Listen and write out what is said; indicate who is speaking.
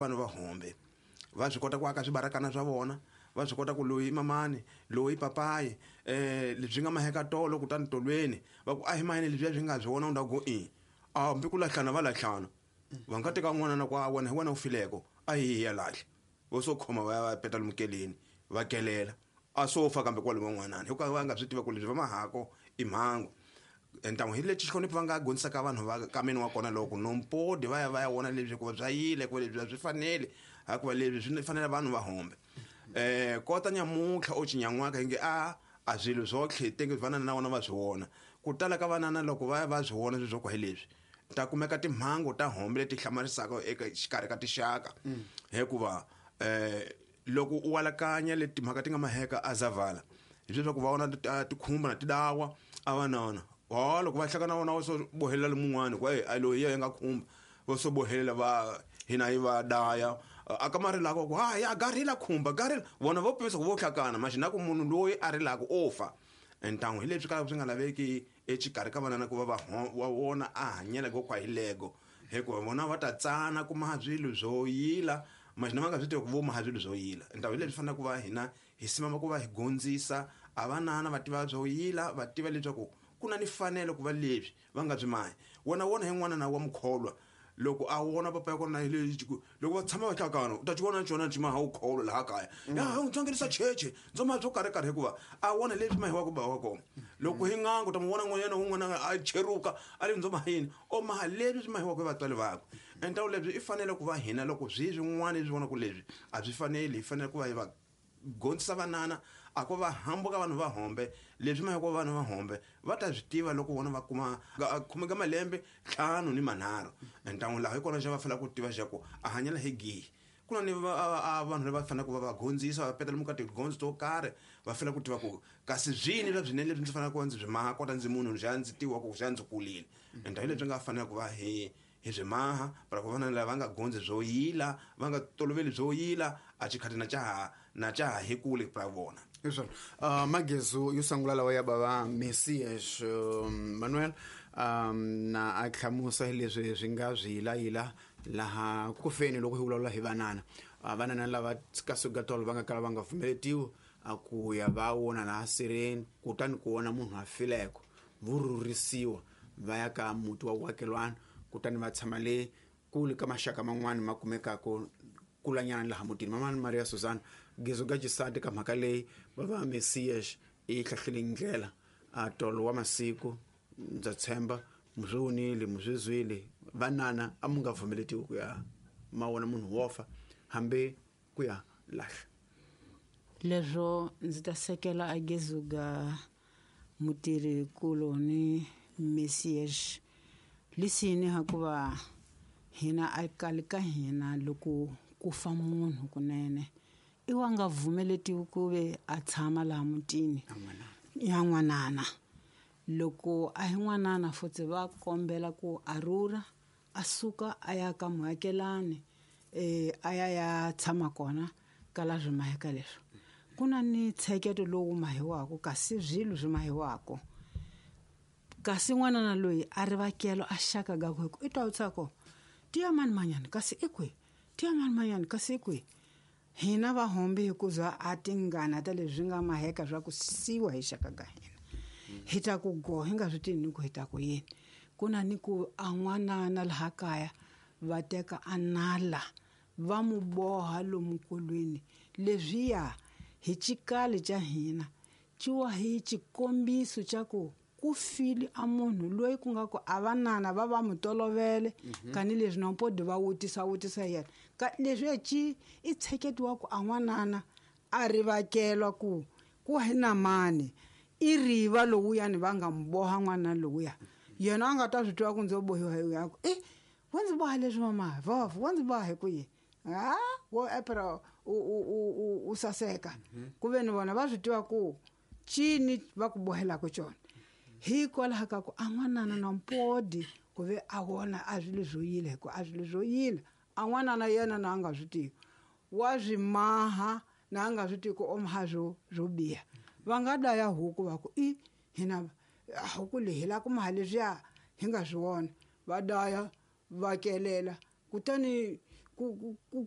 Speaker 1: Vanhu va hombe va swi kota ku aka swibarakana swa vona, va swi kota ku loyi i mamani, loyi i papayi, lebyi nga maheka tolo kutani tolweni va ku a hi maheni lebyiya byi nga byi vona u ku i a hambi ku lahlana va lahlana. Va nga teka n'wana na ku a wena hi wena u fileko a hi ya lahla vo so khoma va ya va peta lomukeleni va kelela a swo fa kambe kwale van'wanani hikuva va nga swi tiva ku leswi va mahako i mhangu. Ntamu hi lexi xihlonipho va nga gondzisaka vanhu va kameni wa kona loko nompodi va ya va ya vona leswi hikuva bya yile hikuva leswi a swi faneli hikuva leswi swi fanele vanhu va hombe. Kota nyamuntlha o cinyan'waka hi nge a swilo swo tlhetenge vanana na vona va swi vona. Ku tala ka vanana loko va ya va swi vona swilo swo ku hi leswi ta kumeka timhangu ta hombe leti hlamarisaka eka xikarhi ka tinxaka hikuva loko u alakanya leti timhaka ti nga maheka a zavala hi leswaku va vona tikhumba na tidawa a vanana wa loko va hlangana na vona va so bohelela lomun'wana ku a loyi ya nga khumba va so bohelela va hina hi va daya a ka ma rilaka ku ha ya garila khumba garila vona vo pimisa ku vo hlakana maxina ku munhu loyi a rilaka o fa. Ntangu hi leswi ka swi nga laveki exikarhi ka vanana ku va va vona a hanyela go kwa hi lego hikuva vona va ta tsana ku maha swilo swo yila maxina va nga swi tivi ku vo maha swilo swo yila. Ntangu hi leswi fanele ku va hina hi simama ku va hi gondzisa a vanana va tiva swo yila va tiva leswaku ku na ni fanelo ku va leswi va nga byi mahi. Wona wona hi n'wana na wa mukholwa loko a wona papa ya kona hi le loko va tshama va hlakana u ta xi vona xona xi maha u kholwa laha kaya ya u tsongerisa cheche ndzo maha byo karhi karhi hikuva a wona leswi mahiwaka ba wa kona. Loko hi n'anga u ta mu vona n'wanyana un'wana a cheruka a le ndzo mahini o maha leswi swi mahiwaka hi vatswari vakwe. Ntawu lebyi i fanele ku va hina loko swi swin'wana leswi vonaka leswi a swi faneli hi fanele ku va hi va gondzisa vanana a ko va hambuka vanhu va hombe leswi mahiko vanhu va hombe va ta swi tiva loko vona va kuma khumeka malembe 5 ni 3. Ntangu laha hi kona xa va fanele ku tiva xa ku a hanyela hi gihi. Ku na ni vanhu lava faneleke ku va va gondzisa va petela muka tigondzo to karhi va fanele ku tiva ku kasi swini swa swinene leswi ndzi faneleke ku va ndzi swi maha kota ndzi munhu xa ndzi tiwa ku xa ndzi kulile. Ntawu lebyi nga fanele ku va hi swi maha para ku vana lava nga gondzi byo yila va nga toloveli byo yila a xikhati na cha hi kule pra vona.
Speaker 2: Hiswona magezu yo sungula lawa ya bava Messias Manuel na a hlamusa leswi swi nga swi yila laha ku feni loko hi vulavula hi vanana. Vanana lava ka sugatolo va nga kala va nga pfumeletiwi a ku ya va wona laha sireni kutani ku vona munhu a fileko vurhurisiwa va ya ka muti wa wakelwana kutani va tshama le kule ka maxaka man'wana ma kumekaka kulanyana laha mutini. Mama Maria Susan gezo ga xisati ka mhaka leyi va va Messias i hlahlele ndlela a tolo wa masiku ndza tshemba muzwonile muzwizwile vanana a mu nga pfumeletiwi ku ya ma wona munhu wo fa hambi ku ya lahla.
Speaker 3: Leswo ndzi ta sekela a gezo ga mutirhi kulo ni Messias lisini hakuva hina a kali ka hina loko ku fa munhu kunene i wa nga vumeletiwi ku ve a tshama laha mutini ya n'wanana. Loko a hi n'wanana futhi va kombela ku a rhurha a suka a ya ka muakelani a ya ya tshama kona ka la swi maheka leswo. Ku na ni ntsheketo lowu mahiwaka kasi swilo swi mahiwaka kasi n'wanana loyi a ri vakelo a xaka ga ku i twa utsako tiya mani manyana kasi i kwihi tiya mani manyana kasi i kwihi. Hina va hombe hikuza a tingana ta leswi nga maheka swa ku siwa hi xaka ga hina hi ta ku go hi nga swi tivi ni ku hi ta ku yini. Ku na ni ku a n'wanana laha kaya va teka a nala va mu boha lomu nkolweni leswiya hi xikali xa hina ciwa hi xikombiso xa ku ku file a munhu loyi ku nga ku a vanana va va mu tolovele kani leswi na mpodi va wutisa wutisa yena ka leswi ci i tsheketiwa ku a n'wanana a rivakelwa ku ku hi na mani i riva lowuyani va nga mu boha n'wana lowuya yena a nga ta swi twa ku ndzo bohiwa hi ya ku wa ndzi boha leswi mama vov wa ndzi boha hi ku yini a wo epera u saseka ku ve ni vona va swi tiva ku cini va ku bohelaka xona hikwalaho ka ku a n'wanana na mpodi ku ve a vona a swilo swo yila hi ku a swilo swo yila a n'wanana yena na a nga swi tivi wa swi maha na a nga swi tivi ku o maha swo biha. Va nga daya huku va ku i hina huku leyi hi lava ku maha leswiya hi nga swi vona va daya va kelela kutani ku